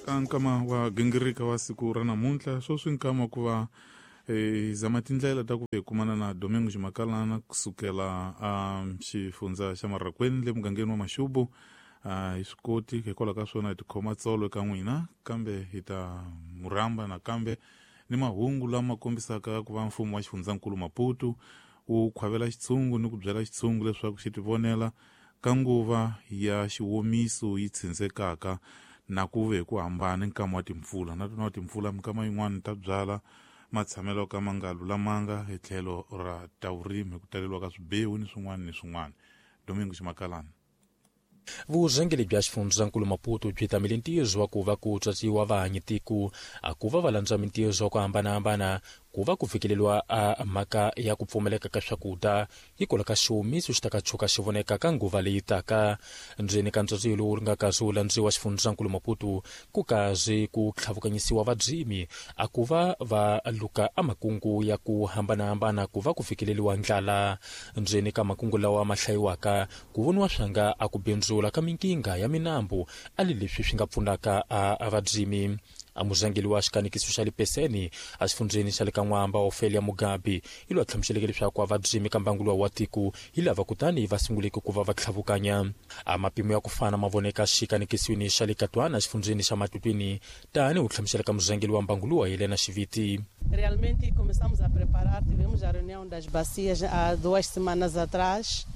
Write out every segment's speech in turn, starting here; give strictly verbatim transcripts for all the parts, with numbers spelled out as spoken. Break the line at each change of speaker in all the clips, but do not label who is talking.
Ka nkama wa gingirika wa siku ra namuntlha sweswi nkama ku va hi zama tindlela ta ku hi kumana na Domingo Ximakalana kusukela a xifundza xa Marraquene le mugangeni wa Maxubu. A hi swi koti hikwalaho ka swona hi tikhoma tsolo eka n'wina, kambe hi ta murhamba nakambe ni mahungu lama kombisaka ku va mfumo wa xifundzankulu Maputo wu khwavela xitshungu ni ku byela xitshungu leswaku xi tivonela ka nguva ya xiwomiso yi tshindzekaka na ku ve ku hambana nkama wa timpfula na tona timpfula minkama yin'wana ta byala matshamelo ka ma nga lulamanga hi tlhelo ra ta vurimi ku taleriwa ka swibewu ni swin'wana ni swin'wana. Domingo Ximakalana.
Vurhangeri bya xifundzankulu Maputo byi tamele ntirho wa ku va ku tswatsiwa vahanyi tiko a ku va va landza mintirho ya ku hambanahambana ku va ku fikeleriwa a mhaka ya ku pfumaleka ka swakudya hikwalaho ka xiwomiso xi ta ka tshuka xi voneka ka nguva leyi taka. Ndzeni ka ntswatsiwo lowu nga kasi wu landziwa xifundzankulu Maputo ku kazi ku tlhavukanyisiwa vadzimi a ku va va luka a makungu ya ku hambanahambana ku va ku fikeleriwa ndlala. Ndzeni ka makungu lawa ma hlayiwaka ku voniwa swanga a ku bindzula ka minkinga ya minambu a li leswi swi nga pfunaka a vadzimi. A murhangeri wa xikanekiso xa le Peseni a xifundzeni xa le ka N'wamba Ofelia Mugabe hi loyi a hlamuseleke leswaku a vadzimi ka mbangu luwa wa tiko hi lava kutani va sunguleke ku va va tlhavukanya. A mapimo ya ku fana ma voneka xikanekisweni xa le Katwana xifundzeni xa Matutwini tani wu hlamusela ka murhangeri wa mbangu luwa Helena Xiviti.
Realmente começamos a preparar, tivemos a reunião das bacias há duas semanas atrás,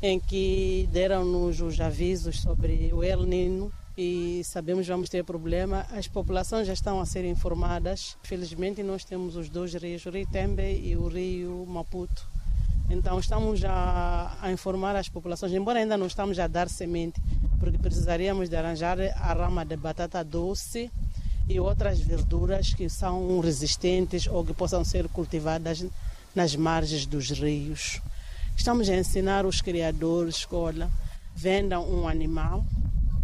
em que deram-nos os avisos sobre o El Niño e sabemos que vamos ter problema. As populações já estão a ser informadas. Felizmente nós temos os dois rios, o Rio Tembe e o Rio Maputo. Então estamos a, a informar as populações, embora ainda não estamos a dar semente, porque precisaríamos de arranjar a rama de batata doce e outras verduras que são resistentes ou que possam ser cultivadas nas margens dos rios. Estamos a ensinar os criadores que, olha, vendam um animal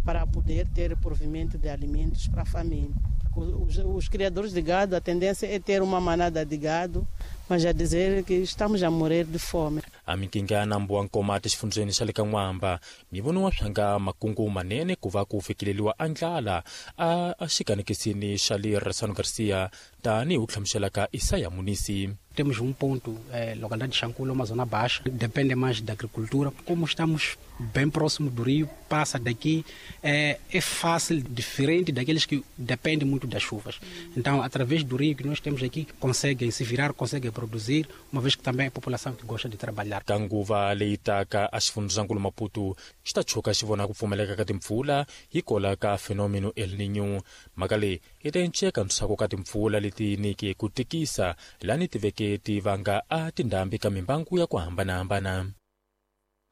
para poder ter provimento de alimentos para a família. Os, os criadores de gado, a tendência é ter uma manada de gado, mas a dizer que estamos a morrer de fome.
A minkinga ya nambu wa Nkomati xifundzeni xa le ka N'wamba mi voniwa swanga makungu manene ku va ku fikeleriwa a ndlala a xikanekisini xa le Ressano Garcia tanihi wu hlamusela ka Isaya Munisi.
Temos um ponto, eh, localidade de Xanculo, uma zona baixa, depende mais da agricultura. Como estamos bem próximo do rio, passa daqui, é, é fácil, diferente daqueles que dependem muito das chuvas. Então, através do rio que nós temos aqui, conseguem se virar, conseguem produzir, uma vez que também é a população que gosta de trabalhar.
Ka nguva leyi taka a xifundzankulu Maputo xi ta tshuka xi vona ku pfumaleka ka timpfula hikwalaho ka fenômeno El Niño. Mhaka leyi yi ta enceka ntshaku ka timpfula leti niki ku tikisa lani ti veke ti vanga a tindhambi ka mimbangu ya ku hambanahambana.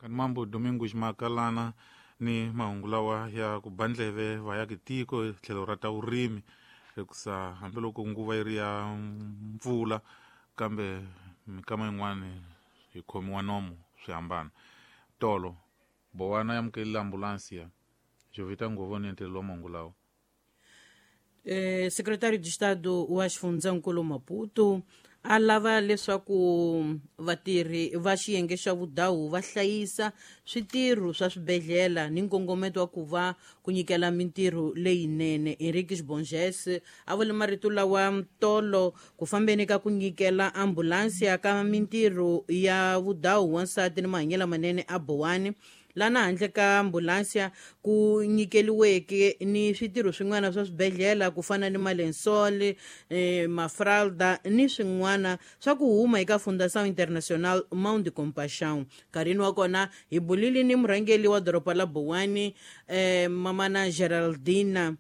Kanimambo Domingo Ximakalana ni mahungu lawa ya ku bandleve va ya tiko tlhelo ra ta vurimi hikusa hambiloko nguva yi ri ya mpfula kambe mikama yin'wana hi khomiwa nomo swi hambana. Tolo Bowana ya amukelile ambulansi Jovita Ngovoni entelelo wa mahungu lawa.
Eh, secretário de Estado wa xifundzankulu Maputo a lava leswaku vatirhi va xiyenge xa vudawu va hlayisa switirho swa swibedhlele ni nkongometo wa ku va ku nyikela mintirho leyinene. Henrique Bonges a vule marito lawa tolo ku fambeni ka ku nyikela ambulansi ya ka mintirho ya vudawu wansati ni mahanyelo manene a Bowani, lana handle ka ambulansi ku nyikeliweke ni switirho swin'wana swa swibedhlele ku fana ni malensol, eh, mafralda ni swin'wana swa ku huma eka Fundação Internacional Mão de Compaixão. Nkarhini wa kona hi bulile ni murhangeri wa doroba la Bowani, eh, mamana Geraldina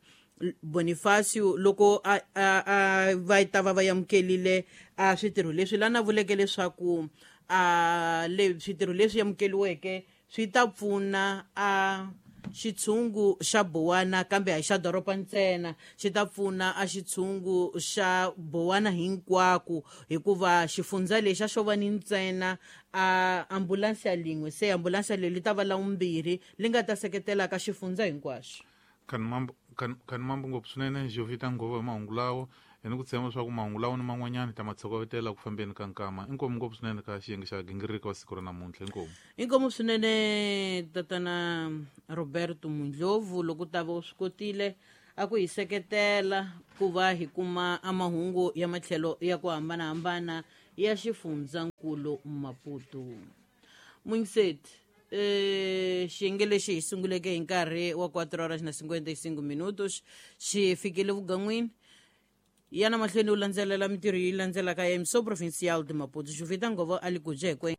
Bonifacio loko a, a, a va ta va va amukelile a switirho leswi lana vuleke leswaku a le switirho leswi amukeliweke swi ta pfuna a xitshungu xa Bowana kambe a hi xa doroba ntsena, xi ta pfuna a xitshungu xa Bowana hinkwako hikuva xifundza lexi a xo va ni ntsena a ambulansi ya lin'we, se ambulansi leyi li ta va la vumbirhi li nga ta seketela ka xifundza hinkwaxo.
Kanimambo ngopfu swinene Jovita Ngova hi mahungu lawo hi ni ku tshemba leswaku mahungu lawo ni man'wanyana ta ma tshokovetela ku fambeni ka nkama. Inkomu ngopfu swinene ka xiyenge xa gingiriko wa siku ra namuntlha. Inkomu
inkomu swinene tatana Roberto Mundlovu loko ta va u swi kotile a ku hi seketela ku va hi kuma amahungu ya matlhelo ya ku hambanahambana ya xifundzankulu Maputo. Mungiseti eh xiyenge lexi hi sunguleke hi nkarhi wa quatro horas na cinquenta e cinco minutos xi fikile vugan'wini yana mahlweni u landzelela mintirho yi landzelaka ya Emissão Provincial de Maputo. Juvita Ngovo a li ku jekwe.